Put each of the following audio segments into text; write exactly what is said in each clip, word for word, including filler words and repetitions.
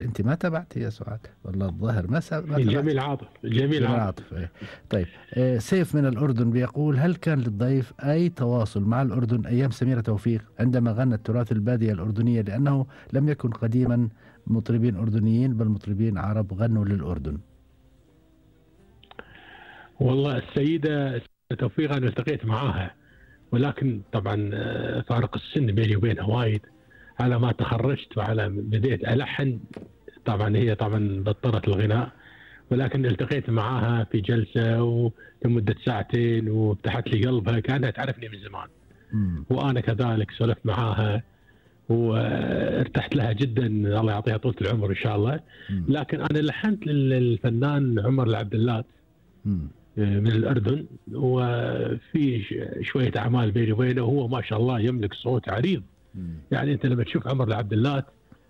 أنتِ ما تابعتِ يا سعاد والله الظاهر ما س ما تابعتِ. جميل عاطف، جميل جميل عاطف. عاطف إيه. طيب آآ سيف من الأردن بيقول: هل كان للضيف أي تواصل مع الأردن أيام سميرة توفيق عندما غنى التراث البادية الأردنية؟ لأنه لم يكن قديمًا مطربين أردنيين بل مطربين عرب غنوا للأردن. والله السيدة توفيق أنا التقيت معاها، ولكن طبعًا فارق السن بيني وبينها وايد. على ما تخرجت وعلى بديت ألحن، طبعًا هي طبعًا بطلت الغناء، ولكن التقيت معاها في جلسة ولمدة ساعتين وفتحت لي قلبها، كأنها تعرفني من زمان. إمم. وأنا كذلك سولفت معاها وارتحت لها جدًا، الله يعطيها طولة العمر إن شاء الله. إمم. لكن أنا لحنت للفنان عمر العبدلات إمم. من الأردن، وفي شوية أعمال بيني وبينه، وهو ما شاء الله يملك صوت عريض. إمم. يعني أنت لما تشوف عمر العبدلات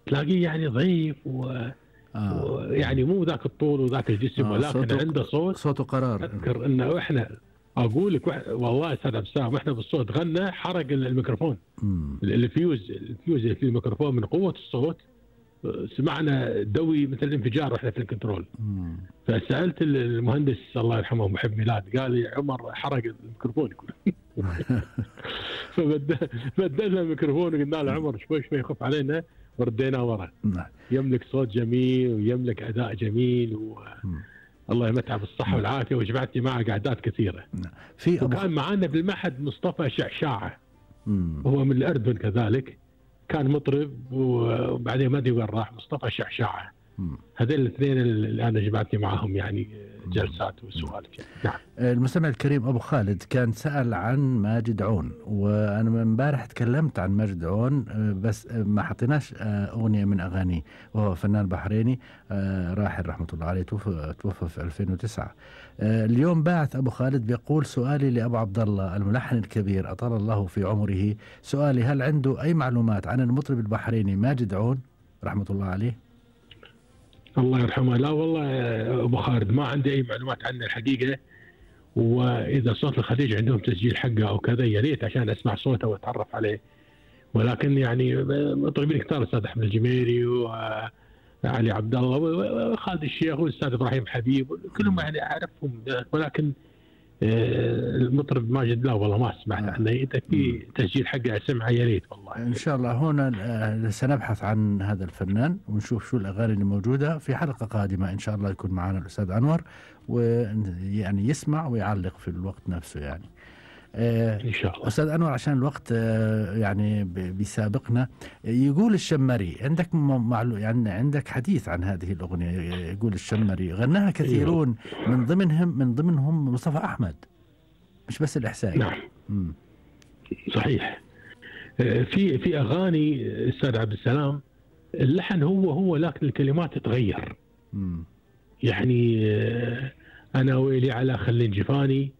تلاقيه يعني ضعيف و آه. ويعني مو ذاك الطول وذاك الجسم، آه ولكن صوته عنده صوت. صوته قرار. أذكر إنه إحنا أقول لك وح... والله أستاذ عبد السلام إحنا بالصوت غنى حرق الميكروفون. إمم. الفيوز الفيوز اللي في الميكروفون من قوة الصوت سمعنا دوي مثل الانفجار واحنا في الكنترول. إمم. فسألت المهندس الله يرحمه محب ميلاد، قال لي عمر حرق الميكروفون كله. فبدلنا الميكروفون وقلنا له عمر شوي شوي خف علينا ورديناه ورا. نعم. يملك صوت جميل ويملك أداء جميل و... إمم. الله يمتعه بالصحة والعافية، وجمعتني معه قعدات كثيرة. نعم. في أبو وكان معانا بالمعهد مصطفى شعشاعة، إمم. وهو من الأردن كذلك، كان مطرب وبعدين ما أدري وين راح. مصطفى شعشاعة، إمم. هذين الاثنين اللي أنا جمعتني معهم يعني جلسات وسوالف. نعم. المستمع الكريم أبو خالد كان سأل عن ماجد عون، وأنا من امبارح تكلمت عن ماجد عون بس ما حطيناش أغنية من أغانيه، وهو فنان بحريني راحل رحمة الله عليه، توفى توفى في ألفين وتسعة. اليوم باعث أبو خالد بيقول: سؤالي لأبو عبد الله الملحن الكبير أطال الله في عمره، سؤالي هل عنده أي معلومات عن المطرب البحريني ماجد عون رحمة الله عليه؟ الله يرحمه. لا والله أبو خالد ما عندي أي معلومات عنه الحقيقة، وإذا صوت الخليج عندهم تسجيل حقه أو كذا يا ريت عشان أسمع صوته وأتعرف عليه. ولكن يعني مطربين كثار، الأستاذ أحمد الجميري وعلي عبد الله وخالد الشيخ والأستاذ إبراهيم حبيب كلهم يعني أعرفهم، ولكن المطرب ماجد لا والله ما سمعت آه. عنه. إذا في تسجيل حقه أسمعه يا ريت والله. إن شاء الله هنا سنبحث عن هذا الفنان ونشوف شو الأغاني اللي موجودة في حلقة قادمة إن شاء الله. يكون معنا الأستاذ أنور ويعني يسمع ويعلق في الوقت نفسه يعني. آه إن شاء الله. أستاذ أنور عشان الوقت آه يعني بيسابقنا، يقول الشمري عندك معلو يعني عندك حديث عن هذه الأغنية. يقول الشمري غناها كثيرون من ضمنهم من ضمنهم مصطفى أحمد، مش بس الإحسائي. نعم. مم. صحيح. في في أغاني أستاذ عبد السلام اللحن هو هو لكن الكلمات تتغير. مم. يعني أنا ويلي على خلين جفاني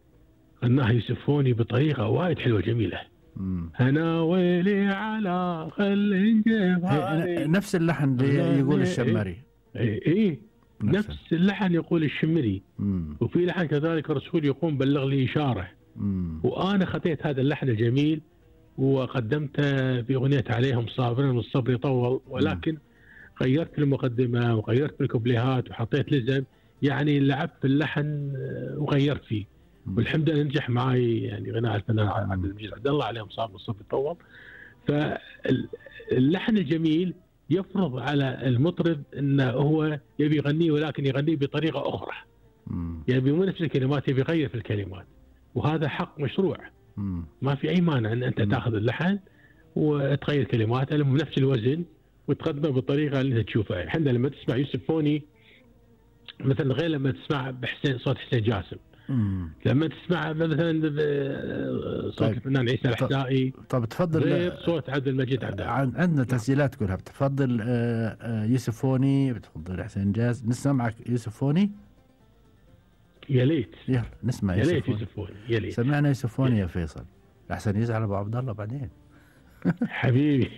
غناها يوسفوني بطريقة وايد حلوة جميلة. مم. أنا ويلي على خلين جفاني نفس اللحن اللي يقول الشمري. إيه إيه نفس, نفس اللحن يقول الشمري. مم. وفي لحن كذلك رسول يقوم بلغ لي إشارة. مم. وأنا خطيت هذا اللحن الجميل وقدمته في أغنية عليهم صابرين والصبر يطول، ولكن مم. غيرت المقدمة وغيرت في الكوبليهات وحطيت لزم، يعني لعبت في اللحن وغيرت فيه. والحمد لله نجح معي يعني غناء الفنان عبد المجيد عبد الله عليهم صابر والصبر يطول. فاللحن الجميل يفرض على المطرب انه هو يبي يغنيه، ولكن يغنيه بطريقة أخرى. مم. يبي مو نفس الكلمات، يبي يغير في الكلمات، وهذا حق مشروع. مم. ما في أي مانع أن أنت تأخذ اللحن وتغير كلماته بنفس الوزن وتقدمه بالطريقة اللي أنت تشوفها. احنا لما تسمع يوسف فوني مثلا غير لما تسمع بحسين صوت حسين جاسم. مم. لما تسمع مثلا صوت طيب. الفنان عيسى الحسائي. طب تفضل غير صوت عبد المجيد عبد الله. عندنا تسجيلات كلها. بتفضل يوسف فوني، بتفضل حسين جاز؟ نسمع معك يوسف فوني. يا ليت يلا نسمع يا يوسف ليت فوني. يوسف فوني يا ليت. سمعنا يوسف فوني يا فيصل، احسن يزعل ابو عبد الله بعدين. حبيبي.